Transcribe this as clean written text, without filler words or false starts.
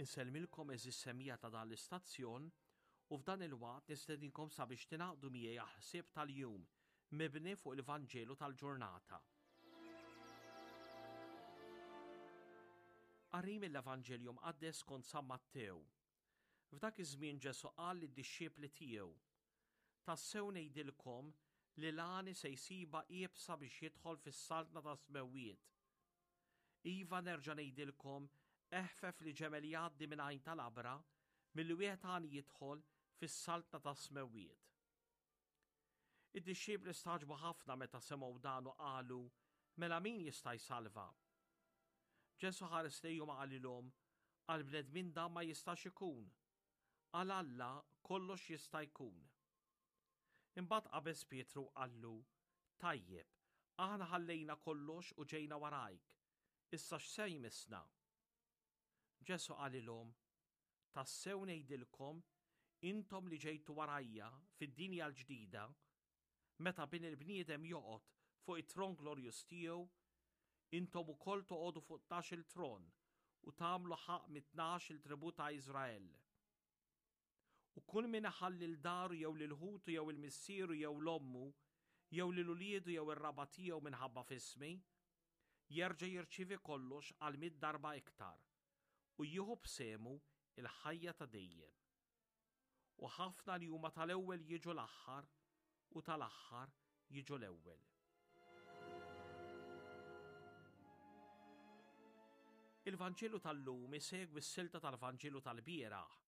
Insellmilkom għeżież semmiegħa ta' dan l-istazzjon u f'dan il-waqt nistedinkom sabiex tingħaqdu miegħi għall-ħsieb tal-jum mibni fuq il-Vanġelu tal-ġurnata. Qari mill-Evanġelju Mqaddes skont San Mattew. F'dak iż-żmien Ġesù qal lid-dixxipli tiegħu, Tassew ngħidilkom li l-għani se jsibha iebsa biex jidħol fis-saltna tas-smewwiet. Iva nerġa' ngħidilkom, eħfef li ġemel jgħaddi minn għajn ta' labra milli wieħed għani jidħol fis-saltna tas-smewwiet. Id-dixxipli stagħġbu ħafna meta semgħu dan u qalu, Mela min jista' jsalva? Ġesù ħares lejhom u qalilhom, Għall-bnedmin dan ma jistax ikun, Għal Alla kollox jista' jkun. Imbagħad qabeż Pietru u qallu, Tajjeb, aħna ħallejna kollox u ġejna warajk, issa x'se jmissna? Ġesù qalilhom, Tassew ngħidilkom, intom li ġejtu warajja fid-dinja l-ġdida, meta Bin il-bniedem joqgħod fuq it-tron glorjuż tiegħu, intom ukoll toqogħdu fuq tnax-il tron u tagħmlu ħaqq mit-tnax-il tribù ta' Iżrael. U kull min iħalli 'l daru jew lil ħutu jew 'il missieru jew 'l ommu jew lil uliedu jew ir-raba' tiegħu minħabba f'ismi, jerġa' jirċievi kollox għal mitt darba iktar u jieħu b'sehmu l-ħajja ta' dejjem. U ħafna li huma tal-ewwel jiġu l-aħħar u tal-aħħar jiġu l-ewwel. Il-Vanġelu tal-lum isegwi s-silta tal-Vanġelu tal-bieraħ.